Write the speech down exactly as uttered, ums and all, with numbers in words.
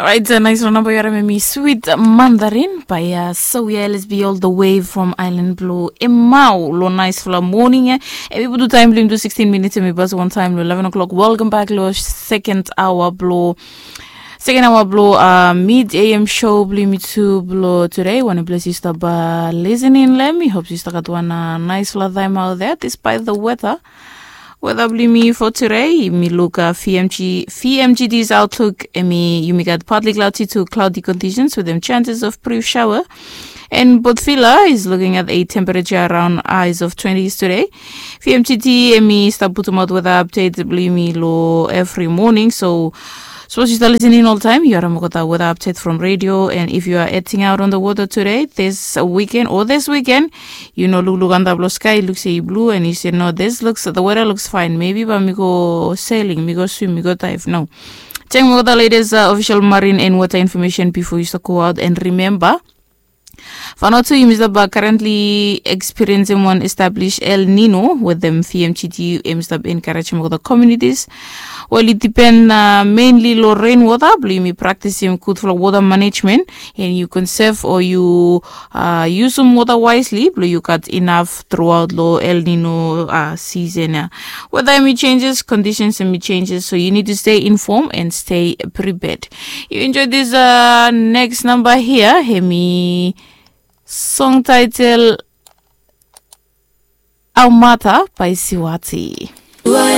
Orait, nais long namba yu harim em i Sweet Mandarin by Sawia L S B all the way from Island Blue. Emau lo naisfala moning ya. Em i putu taim bilong tu sixteen minutes em i bas wan taim lo eleven o'clock. Welcome back lo second hour blo second hour blo uh, mid A M show blo mi tu blo today. Wan bless yu stop uh, listening. Let me hope yu stop at one uh, nice la time out there despite the weather. Weather blo mi for today, mi look uh, V M G, V M G D's outlook, emi yumi got partly cloudy to cloudy conditions with them chances of brief shower. And Botvila is looking at a temperature around highs of twenties today. V M G D emi start putum out weather update blo mi lo every morning. So suppose you start listening all the time, you are mokota weather update from radio. And if you are heading out on the water today, this weekend or this weekend, you know, look look under blue sky, looks a blue, and you say, no, this looks the weather looks fine. Maybe but mi go sailing, mi go swim, mi go dive. No. Check out the latest uh, official marine and water information before you start go out. And remember, Vanuatu yumi stap uh, currently experiencing one established El Nino with them V M G D yumi stap encouraging with the communities. Well, it depend uh, mainly lo rainwater, blo yumi practicing good for water management and you conserve or you uh, use some water wisely, blo you got enough throughout lo El Nino uh, season. Uh. Weather emi changes, conditions emi changes, so you need to stay informed and stay prepared. You enjoy this uh, next number here, hemi song title Aumata by Siwati.